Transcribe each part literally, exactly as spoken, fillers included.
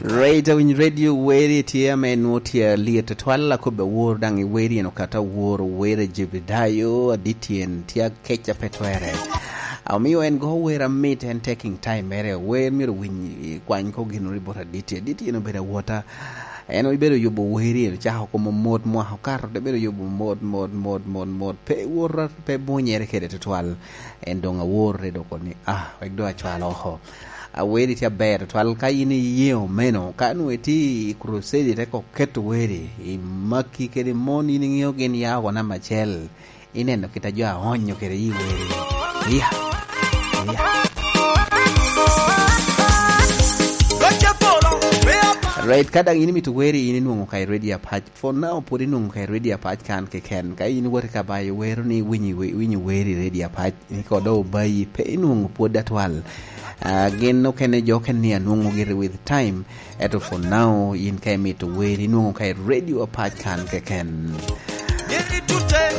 Right, awiny radio weri tye ame nwo tye alyet tutwal, akobbe awor daŋ i weri en okato awor weri Jebedayo, adit tyen tye akeca pe twere. A, omio en go wer amit, en taking time mere, wer myero winy i kwany ko gin ori bot adit tyen, adit tyen obedo awota. En obedo yubo weri, en ocako komo mot mwaka okato, te bedo yubo mot, mot, mot, mot, mot, pe wora, pe bunyere kede tutwal. En doŋ awor te doko ni, ah, wek doŋ acwal oko. Aweri tye aber tutwal, ka in iye omeno, ka nwe tye i crusade, te ko keto weri, i maki kede mon, in iŋeo gin ya oko namba acel, ineno kit a jo aonyo kede i weri. Iya. Iya. Right, ka daŋ in imito weri, in inwoŋo ka i radio apac. For now, pwod inwoŋo ka i radio apac kan keken. Ka in iwot i kabayo wero ni winyi we-, winyo weri i radio apac, ni kodo obayi, pe inwoŋo pwod atwal. Ah, gin okene jo okene ni anwoŋo giri with time. Eto for now, in ka imito weri, inwoŋo ka i radio apac kan keken.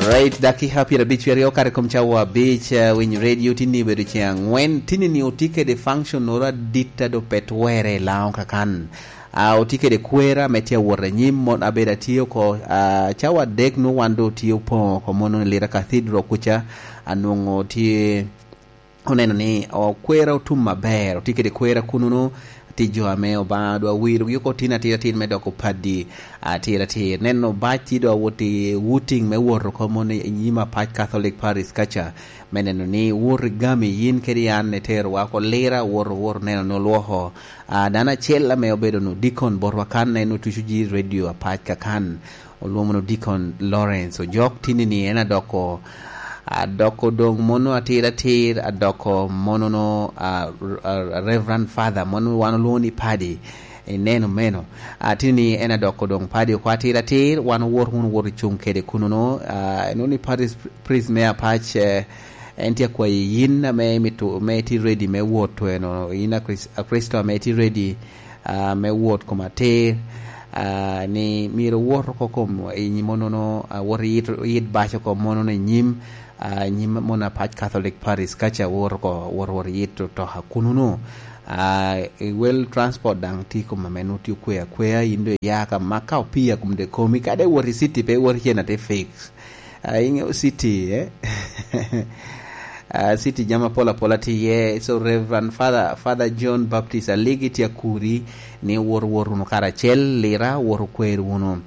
Right, dakika pyerabic aryo kare kom cawa abic, ah, winyo radio tinni obedo ceŋ angwen. Tinni ni oti kede function oro adit a do pe twere i Laŋo kakan. Ah, otye kede kwera ame tye awot anyim, mon abedo atye oko, ah, cawa adek nwo wan do tye opoŋo oko mono i Lira Cathedral kuca, anwoŋo tye oneno ni o-, kwera otum aber, otye kede kwera kunono, tye jo ame Obaŋa dwa wirogi oko tin atir atir me doko padi atir atir. Neno bac tye dwa wot i wooting me wot oko mono i nyim apac Catholic Parish kaca, me neno ni wot i gami yin kede an iterowa oko Lira, wot, wot neno ni olwoko Ah, dano acel ame obedo nu dikon botwa kan, en otuco ji radio apac kakan, olwoŋo nu dikon Lawrence Ojok, tinni ni en adoko, adoko doŋ mono atir atir, adoko mono no, ah, r-, ah, Reverend Father, mono wan olwoŋo ni Paddy, ineno meno. Ah, tinni ni en adoko doŋ Paddy oko atir atir, wan owor wunu wot i cuŋ kede kuno no, ah, inwoŋo ni Parish Priest me apac, eh, en tye akwayi yin ame imito, me iti ready me wot tweno, yin a Kris-, a Kricito ame iti ready, ah, me wot kom atir, ah, ni myero wot oko kom i nyim onono, ah, wot yit, yit bac oko mono i nyim, ah, nyim mono apac Catholic Parish kaca wot oko, wot, wot yit otoka kunono. Ah, i wel transport daŋ tye kom ame nwo tye okwe akwea, yin do iya ka mak ka opii a kom de komi, kade wot i city pe wot cen ate fix. Ah, iŋeo city, eh? Ah, city jami apol apol atye iye. So, Reverend Father, Father John Baptist Aligi tye akuri ni wot, wot wunu karacel, Lira, wot okwer wunu.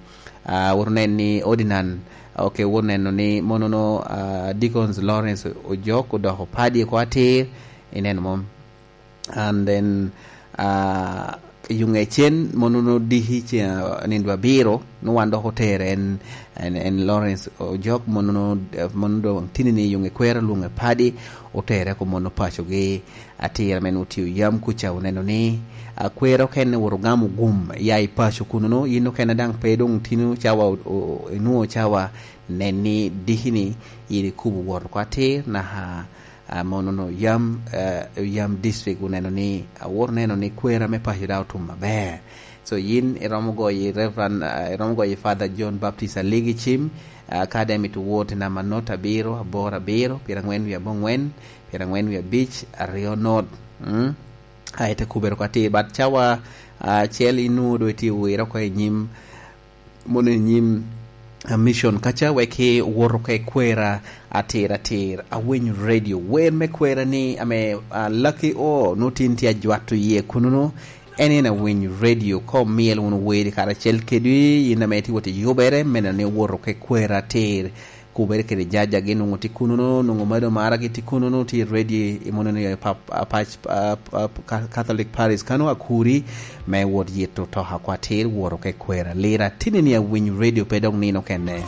Ah, wot onen ni Ordinand, ok, wot neno ni monono, ah, Deacons Lawrence Ojok odoko Paddy oko atir, ineno mom? And then, ah, yuŋe cen, mono no diki ce, ah, nindo abiro, no wan dok otere en, en, en Lawrence Ojok, mono no, eh, mono doŋ tini ni yuŋe kwero lwoŋe Paddy, otere ko mono pacogi atira men otio yam kuca oneno ni, ah, kwero kene wot ogamo gum ya i paco kuno no, yin okene daŋ pe doŋ tino cawa o-, o-, inwoŋo cawa nen ni diki ni yin ikubo wot oko atir, naka ah, mono no yam, eh, yam district oneno ni, awot oneno ni kwera me paco daŋ otum aber. So, yin iromo goyo i Reverend, ah, iromo goyo i Father John Baptist Aligi cim, ah, ka daŋ imito wot i namba not abiro, aboro abiro, pyerangwen wie abongwen, pyerangwen wie abic, aryo not. Mm? Ah, ite kubere oko atir, but cawa, ah, acel inwoŋo doŋ itye wire oko i nyim mono i nyim, ah, mission kaca, wek iwot oko i kwera atir atir. Awinyo radio, wer me kwera ni ame, ah, Lucky O, nwoŋo tin tye ajwato iye kunono. En en awinyo radio, ka omyel wunu weri karacel kedi, in ame itye wot i yubere, me neno ni iwot oko i kwera atir. Kubere kede jajagi nwoŋo tye kunono, nwoŋo Mado Maragi tye kunono, tye ready i mono ni pap-, a, pac-, a, a, Ca-, Catholic Parish kano akuri me wot yito toka kwa atir woro ke kwera. Lira tini ni awinyo radio pe dok nino kene.